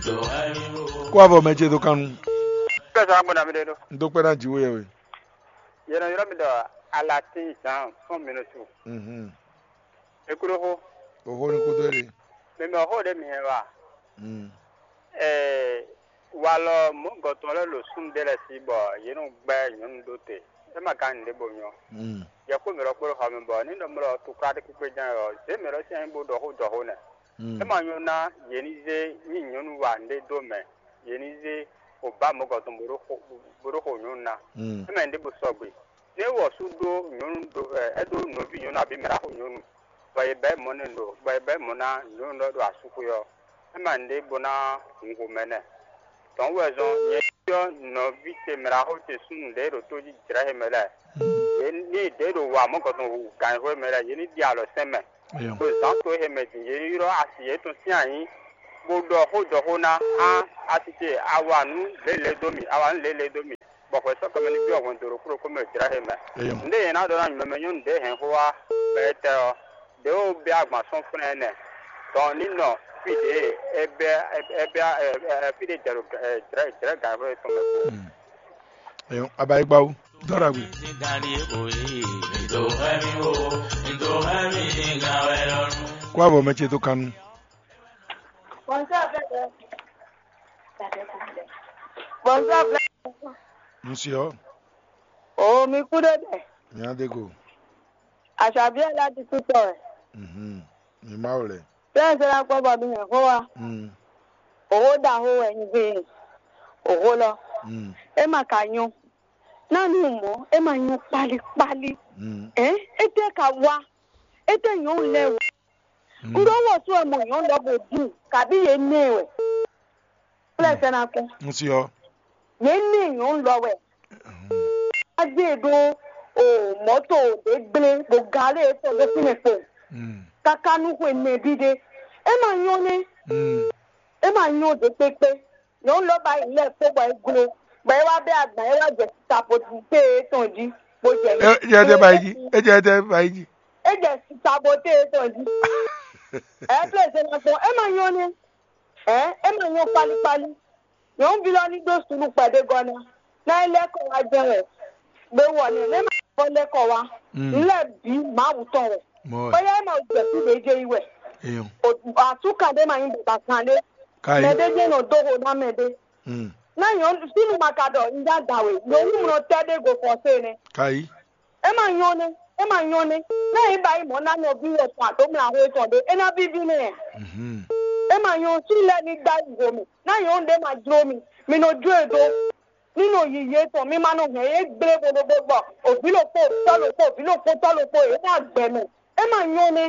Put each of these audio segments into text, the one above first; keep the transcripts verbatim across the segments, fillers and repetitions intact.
Kó avɔ mɛ ce dó kan nu. Kpɛsɔ agbɔn na mi ɖe ɖo. N dó kpɛ́ ná jǐ we yɛ we. Yɛn nɔ ylɔ́ mi ɖɔ alatín zan fún mi nɔ su. Mhm. Ekúɖóxó. Oxó ní kúdó ɖe. Mɛ mɛ xó ɖé mi hɛn wa. Mm. Ɛɛ, walɔ mɔ̌gɔtɔn lɛ́ɛ ɖo súnnu ɖé lɛ́ɛ sí bɔ yě nɔ gbɛ́ nyɔ̌nu ɖó te. É ma ka nǔɖé bo nyɔ. Mm. Yɛ kpó mɛ lɔ kpó ɖo xɔ mɛ bɔ ní ɖɔ mɛ lɔ tukla ɖé kpékpé jɛ́n ɔ, zě mɛ lɔ sín anyí bó ɖɔ xó jɔ xó nɛ́. Mm. É ma nyɔ́ ná yě ní zé nyí nyɔ̌nu wa nǔɖé dó mɛ, yě ní zé wǒ ba mɔ̌gɔtɔn bó ɖó xo bó ɖó xo nyɔ̌nu ná. Mm. É mɛ nǔɖé bo sɔgbe. Nú é wɔ sú ɖó nyɔ̌nu ɖo ɛ é ɖó nɔví nyɔ̌nu abǐ mɛ ɖaxó nyɔ̌nu, bɔ è bɛ̌ mɔ̌ n'i ɖo bɔ è bɛ̌ mɔ̌ ná nyɔ̌nu lɔ ɖo asúxwé ɔ́, é ma nǔɖé bó ná hun xomɛ nɛ́. Tɔ̌n wɛ zɔn nyɛ ɖyɔ́ nɔví ce mɛ ɖaxó ce súnnu ɖě ɖo tó jí jlɛ̌ he mɛ lɛ́ɛ. Yě ní ɖě ɖo wa mɔ̌ gɔtɔn hu gǎnxwé mɛ lɛ́ɛ, yě ní ɖi alɔ sɛn mɛ. Ɖo zǎn to he mɛ din, yě ní ylɔ́ asi yětɔn sín ayǐ, bó ɖɔ xó jɔ xó ná á asi ce, a wa nǔ lělě dó mì, a wa nǔ lělě dó mì, bɔ hwɛ sɔ́ kɔmɛ ní byɔ́ hwɛndo ɖokpó ɖokpó mɛ jlɛ̌ he mɛ. Nǔɖé nyɛ ná ɖɔ ná nyumɛmɛ nyɔ́nu ɖě hɛn xó wá bɔ é tɛ ɔ́, ɖě wo bɛ́ agban sɔ́ flɛ́n ɛnɛ, dɔn ní nɔ fí ɖě é bɛ́ é bɛ́ fí ɖé jɛ ɖo jlɛ̌ jlɛ̌ gǎnxwé tɔn mɛ kpo. Ɛyɔ, abayigbawo, dɔ́ ɖagbe. Kó avɔ mɛ ce dó kan nu. Bonsoir, frère. Monsieur. Oh, mi kúɖé dɛ. Mi adego. Aṣàbí ẹ̀ láti kútọ̀ ẹ̀. Mhm. Mi má wò lɛ. Bẹ́ẹ̀ ṣe la kpọ́ bọ̀ mi hàn xó wa. Mm. Òwò da xó wẹ̀ ń gbé. Òwò lọ. Mm. É mà ka nyɔ́. Náà ní mɔ̌, é mà nyɔ́ kpálíkpálí. Mm. Ẹ́ é tẹ́ ka wá. É tẹ́ nyɔ́ lɛ wò. Mm. Ŋɖɔ́ wɔ sú ɛ mɔ nyɔ́ lɔ bó dùn, kàbí yě nɛ wɛ. Kplɛ́ sɛ́ ná kú. N si ɔ́. Yě ní nyɔ̌nu lɔ wɛ. Á gbé e ɖó o mɔ̌to ɖě gblé ɖo galé tɔn ɖó fínɛ́ kpo. Káká nú xwe nɛbí ɖé. É ma nyɔ́ nɛ́. É ma nyɔ́ ɖě kpékpé. Nyɔ̌nu lɔ ba yi lɛ́ kpó bɔ é gló, bɔ é wá bɛ́ agban, é wá jɛ saboté tɔn jí, bó jɛ. É jɛ tɛ ba yi jí. É jɛ tɛ ba yi jí. É jɛ saboté tɔn jí. Ɛ plé zé ma gbɔn, é ma nyɔ́ nɛ́. Ɛ é ma nyɔ́ kpálíkpálí. Nyɔ̌nuví lɔ ní ɖó suɖu kpɛɖé gɔ́ ná. Ná é lɛ́ kɔ wá jɛ́n wɛ. Gbé wɔ nɛ́, nɛ́ ma kɔ lɛ́ kɔ wá. Nǔ lɛ́ɛ bǐ Mawu tɔn wɛ. Bóyá é ma jɛ fí ɖě jɛ yi wɛ. Asúkan ɖé ma nyí baba kan ɖé. Mɛ ɖé jɛ́n nɔ dó xo ná mɛ ɖé. Ná nyɔ̌nu fínú ma ka ɖɔ un já da we, nyɔ̌nu mlɔ tɛ́ ɖé go fɔ́sé nɛ́. É ma nyɔ́ nɛ́, é ma nyɔ́ nɛ́. Ná é ba yi mɔ̌ ná nɔví wɛ tɔn aɖǒmlaxó tɔn ɖé, é ná víví nɛ. É ma nyɔ́ sú lɛ́ɛ ní dó ayi ho mì. Ná nyɔ̌nu ɖé ma jló mi, mi nɔ jó e dó. Ní nɔ yiyi etɔn, mi ma nɔ hɛn yě gblé bo ɖokpó gbɔ. Òvǐ ɖokpó, tɔ́ ɖokpó, òvǐ ɖokpó, tɔ́ ɖokpó, yě ná gbɛ mɛ. É ma nyɔ́ nɛ́.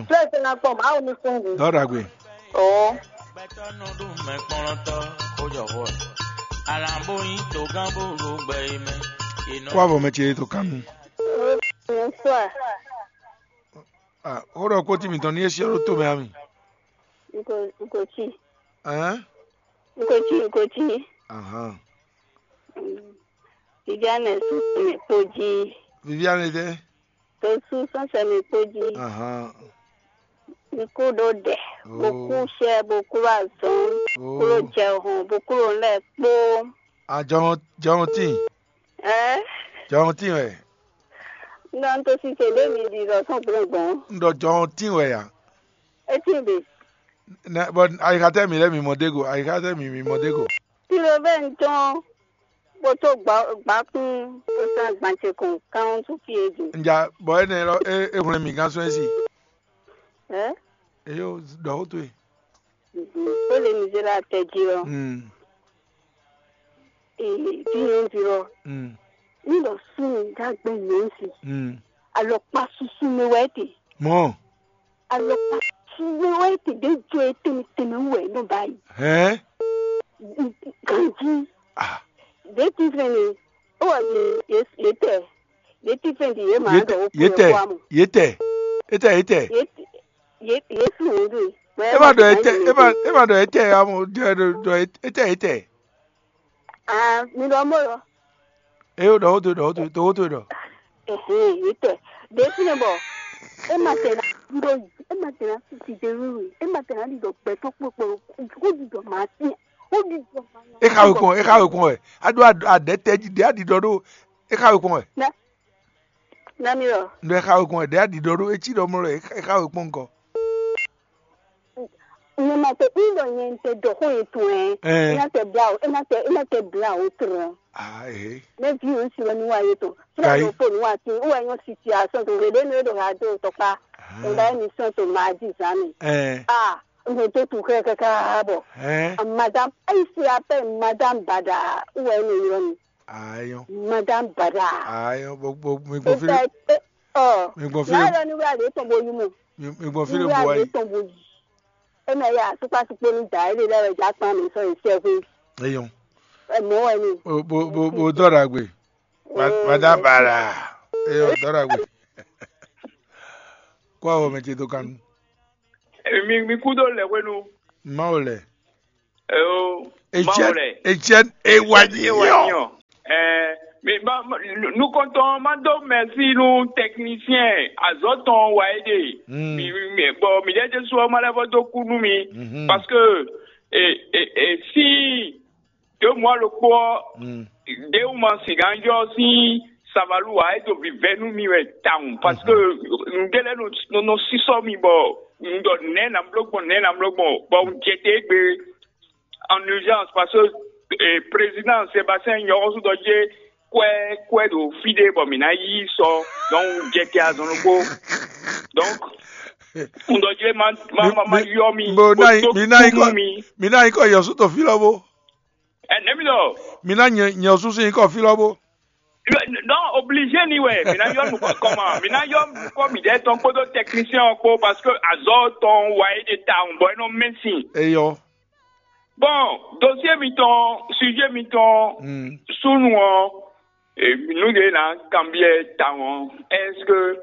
Flɛ́ se ná kpɔn Mawu ní kún hǔn. Dɔ́ ɖagbe. Oo. Kó avɔ mɛ ce to kan nu. Bonsoir. Ah, ó ɖɔ kpótí mǐtɔn ní é syɔ́ ɖó tomɛ ami. Nko nko tsi. Ɛn? Nko tsi nko tsi. Ahan. Viviane sɔnsɛ mi kpo jí. Viviane tɛ? To sú sɔnsɛ mi kpo jí. Ahan. Mi kú ɖó ɖɛ, bó kú Oh. Sɛ, bó kú azɔn, Oh. Kú ɖó jɛ hɔn, bó kú ɖó lɛ kpó. Ah, jɔhɔn jɔhɔn tí. Ɛ? Jɔhɔn tí wɛ. Nɔ n to si ce ɖé mi ɖi ɖɔ sɔn gbɔn gbɔn. N ɖɔ jɔhɔn tí wɛ ya. Eti ɖe. Nɛ bɔ ayixatɛ mi lɛ mi mɔ dego, ayixatɛ mi mi mɔ dego. Tiro bɛ n tɔn. Kpótó gbakún kpótó agbancɛ kɔn kán tó fí e din. Nja bɔ énɛ́ lɔ é é hwlɛ́n mì gán sɔ́ ɛ sí. Ɛ? Eyo ɖɔ ó tó e. Ó lè mi zé la tɛ jí lɔ. Mm. Ee, tí yẹn ń fi lɔ. Mm. Ní lọ sún ní dágbé yẹn ń fi. Mm. Alɔkpa susu mi wɛ te. Mɔ. Alɔkpa susu mi wɛ te ɖe jɔ e tɛmɛ tɛmɛ wɛ nɔ ba yi. Hɛn. Ganji. Ah. Ɖe ti fɛn ni. Ó wà ní yé tɛ. Ɖe ti fɛn di yé ma Yé ɖɔ tɛ. ó Yé kú tɛ. Yé kú amɔ. Yé tɛ. Yé tɛ yé tɛ. Yé ti yé yé fi wò ɖu. E ma ɖɔ etɛ e ma e ma ɖɔ etɛ amu ɖɔ ɖɔ etɛ etɛ. Ah, mi ɖɔ mo ɖɔ. Eyo ɖɔ wodo ɖɔ wodo ɖɔ wodo ɖɔ. Ɛhɛn, yé tɛ. Ɖe fi ne bɔ. E ma tɛ na. ɖo yi, é ma tɛn ná sisi de wíwí, é ma tɛn ná ɖiɖɔ gbɛtɔ́ kpokpo, ó ɖiɖɔ mǎ tiɛ, ó ɖiɖɔ mǎ nya. É xa we kpɔn, é xa we kpɔn wɛ. A ɖó aɖɛtɛ jí ɖě a ɖiɖɔ ɖó. É xa we kpɔn wɛ. Nɛ nɛ mi ɔ. Ɖɔ é xa we kpɔn wɛ, ɖě a ɖiɖɔ ɖó, é cí ɖɔ mlɔ é xa we kpɔn ŋkɔ. Nyɛ ma te un ɖɔ nyɛ un te ɖɔ xó yětɔn ɛ. Ɛɛ. É ná tɛ bla o, é ná tɛ é ná tɛ bla o trɔ. Ah, eh. Mɛ vi o si wɛ nu wa yětɔn. Fúnra Kai. Ló fo nu wa ti, wɛ nyɔ situation to, ɖe ɖe nu e ɖo ha do tɔkpa. Ah. Ŋda émission to ma di zan mi. Ɛɛ. Ah, un ɖo tu kɛ kaka bɔ. Ɛɛ. Madame, ici appelle Madame Bada, wɛ nu yɔ mi. Ayɔn. Madame Bada. Ayɔn, bo bo mi gbɔn fili. Ɔ. Mi gbɔn fili. N'a yɔ ni wúlò àlè tɔn bo yi mɔ. Mi mi gbɔn fili bo wá yi. Tɔn bo yi. E mɛ ya tukpa tukpo ni da ele lɛ ja kpan mi sɔ yi sɛ hu. Eyɔn. Ɛ mɔ wɛ ni. Bo bo bo bo dɔ ɖagbe. Madame Bada. Eyɔn, dɔ ɖagbe. Kó awɔ mɛ ce dó kanu. Mi mi kú dó lɛ hwenu. Mawu lɛ. Eo, Etienne, Mawu lɛ. Etienne Ewanyɔ. Ewanyɔ. Eh, mi ma ma- nu- nukɔntɔn ma dó mɛsi nú technicien azɔtɔn wa é de. Mm. Mi mi mi- bon, mi ɖe Jesu ɔ ma lɛ vɔ dó kú nú mi. Mhm. Parce que e e e si deux mois ɖokpó ɔ, Mm. ɖéwuma sǐgán yɔ sín savalu wa é do vivɛ nú mi wɛ tawun, parce que nǔɖé lɛ́ɛ nɔ nɔ nɔ sísɔ mi bɔ un ɖɔ nɛ̌ nǎ bló gbɔn nɛ̌ nǎ bló gbɔn bɔ un jɛ te égbé en urgence, parce que eh, président Sébastien nyɔxɔsúdɔ jé kwɛ kwɛ ɖo fí ɖé bɔ mǐ ná yí sɔ, donc un jɛ te azɔn ɖokpó. Donc un ɖɔ jé ma ma ma ma yɔ mi. Bo ná yi mi ná yi kɔ mi ná yi kɔ yɔsú tɔ fí lɔ bó. Ɛ nɛ̌ mi ɖɔ? Mi ná nyɛ nyɛ ɔsúsú yi kɔ fí lɔ bó. Non, obligé ni wɛ, mi ná yɔ nukɔ kɔma, mi ná yɔ nukɔ mi ɖɛ tɔn kpódó technicien ɔ kpó, parce que azɔ tɔn wa é ɖe tawun bɔ é nɔ mɛ sin. Eyɔ. Bon, dossier mitɔn, sujet mitɔn, Mm. Súnnu ɔ, e, nǔ ɖě ná kanbyɔ́ tawun ɔ́, est-ce que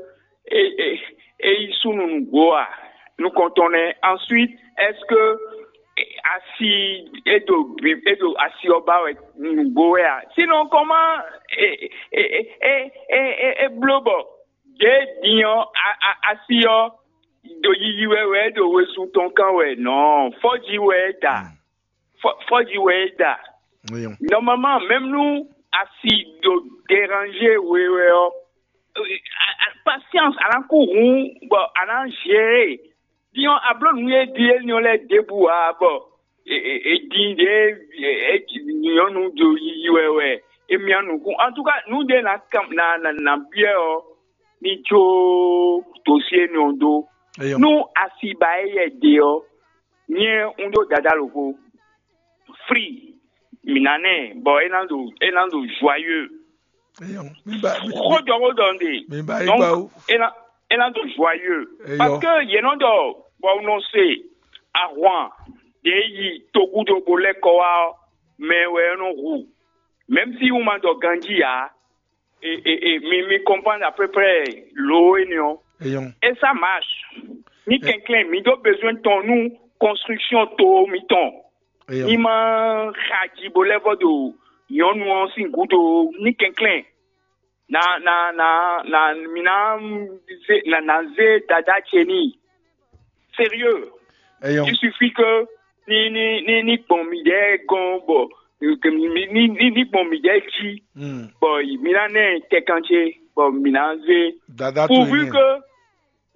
é é é yí súnnu nǔgbó a? Nukɔntɔn nɛ́. Ensuite, est-ce que asi é ɖo bi é ɖo asi ɔ́ ba wɛ nǔgbó wɛ a? Sinon comment é é é é é é é bló bɔ ɖě din ɔ́ a- a- asi ɔ́ ɖo yiyi wɛ wɛ é ɖo wezun tɔn kán wɛ nɔ́ fɔ́ji wɛ é da. Fɔ- fɔ́ji wɛ é da. Normalement, même nú asi ɖo déranger we wɛ ɔ́, a- a- patience a nǎ kú hǔn bɔ a nǎ gérer. Din ɔ́, a bló nǔ e din énɛ́ ɔ́ lɛ́ɛ ɖěbǔ ǎ bɔ e- e- e din ɖě e- e- nyɔ̌nu ɖo yiyi wɛ wɛ é myá nukún. En tout cas, nǔ ɖé ná kan ná ná ná byɔ́ ɔ́, ní jó dosyé nɔ dó. Eyɔn. Nú asi ba éyɛ́ ɖe ɔ́, nyɛ un ɖó dadá lǒxo. Free, mǐ ná nɛ, bɔ é ná ɖo é ná ɖo joyeux. Eyɔn. Mi ba mi Xó jɔ xó ɖɔ un ɖe. Mi ba yi Donc, gba o. é ná é ná ɖo joyeux. Eyɔn. Parce que yě nɔ ɖɔ bɔ un nɔ se ahwan ɖě yi togúdo bó lɛ́ kɔ wá ɔ́, mɛ wɛ é nɔ hu. Même si un ma ɖɔ ganjí ǎ, et, et, et mi, mi comprendre à peu près l'eau et non. Eyɔn. Et ça marche. Ni kɛnklɛn, mi ɖó besoin tɔn nú construction to mitɔn. Eyɔn. Ni ma xa ji bo lɛ́ vɔ ɖo nyɔ̌nu ɔ́ sín gúdo ní kɛnklɛn. Na na na na mi ná zé na na zé dada ce n'i. Sérieux. Eyɔn. Il suffit que ni ni ni ni gbɔn mi ɖɛ gɔn bɔ ni ni ni ni gbɔn mi ɖɛ jí. Hmm. Bɔ mi ná nɛ tɛkan ce bɔ mi ná zé. Dada to Pourvu ene. Que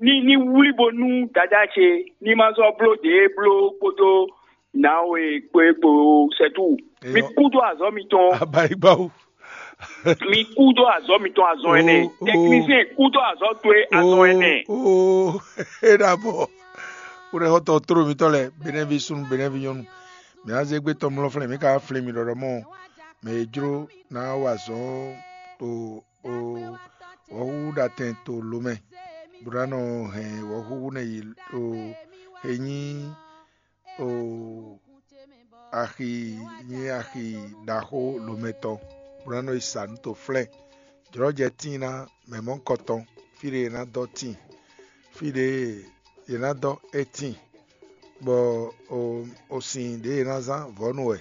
ni ni wlí bo nú dada ce ni ma zɔ bló ɖě bló kpódó nǎwe kpó é kpo sɛtú. Mi Eyɔn. Kú dó azɔ̌ mitɔn. Abayigbawo. Mi kú dó azɔ̌ mitɔn azɔn ɛnɛ. Oh, oh. Technicien kú dó azɔ̌ towe azɔn ɛnɛ. Oh, oh. É ɖabɔ. Kúɖɛxɔtɔ tló mitɔ́ lɛ́ɛ, benɛ́ví súnnu, benɛ́ví nyɔ́nu. Mǐ ná zé gbé tɔn mlɔ́ flɛ́n, mǐ ka wá flín mi ɖɔɖɔ mɔ mɛ e jló ná wa azɔ̌ to o wɔ̌xúxú ɖo atɛn to lo mɛ, bó ná nɔ hɛn wɔ̌xúxú nɛ yi o e nyí o axi nyí axi ɖaxó lomɛtɔn, bó ná nɔ yi sa nǔ to flɛ́n. Jlɔ̌jɛ tíin ná mɛ mɔ̌hunkɔtɔn, fí ɖé è nǎ dɔ́ tíin, fí ɖé è nǎ dɔ́ é tíin, bɔ o o sin ɖě è nǎ zán vɔ̌nu wɛ,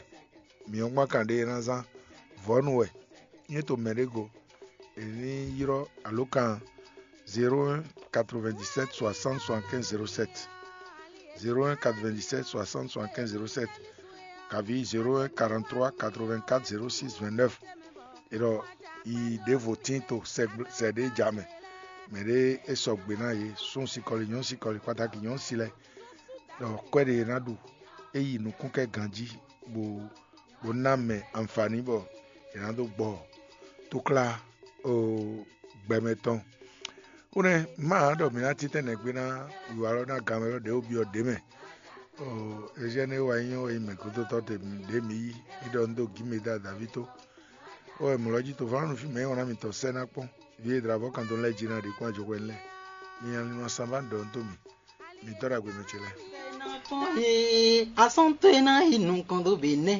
mǐ ɔ́ kpán kan ɖě è nǎ zán vɔ̌nu wɛ. Nyɛ to mɛ ɖé go, è ní ylɔ́ alǒkan zéro un quatre-vingt-dix-sept soixante soixante-quinze zéro sept, zéro un quatre-vingt-dix-sept soixante soixante-quinze zéro sept, kaví zéro un quarante-trois quatre-vingt-quatre zéro six vingt-neuf. È ɖɔ yi ɖěvo tín to sɛ ɖé ja mɛ. Mɛ ɖé é sɔgbe ná yě, sún sikɔli, nyɔ̌ sikɔli, kpataki nyɔ̌ si lɛ́ɛ. Ɖɔ kwɛ́ ɖé è nǎ ɖu, é yi nukún kɛ ganjí, bó bó ná mɛ anfǎní bɔ è nǎ dó gbɔ túklá o gbɛmɛ tɔn. Kúnɛ́ má ɖɔ mǐ ná títɛ́ nɛgbé ná wiwa lɔ ná gan mɛ lɔ ɖě wó byɔ́ ɖě mɛ. Ezyɛ́ nɛ́ wa nyí ɔ́, é nyí mɛ̌gúdótɔ́ ɖě mǐ yí, mǐ ɖɔ un dó gǐ mɛ dó adǎví tó. Ó wɛ mɔ̌ lɔ́ jí tofɔ́nɔ́ fí mɛ é wɔn ná mitɔn sɛ́ ná kpɔ́n. Vǐ e dlǎvɔ́ kan dó lɛ́ɛ jí ná ɖě kpɔ́n ajɔxwɛ lɛ́ɛ. Mi nya ní nɔ sanbá ɖɔ nú tó mì. Mi tɔ́ ɖagbe mɛ ce lɛ́ɛ. Asɔ́ntɔ́ e ná yi nukɔn dó be nɛ́.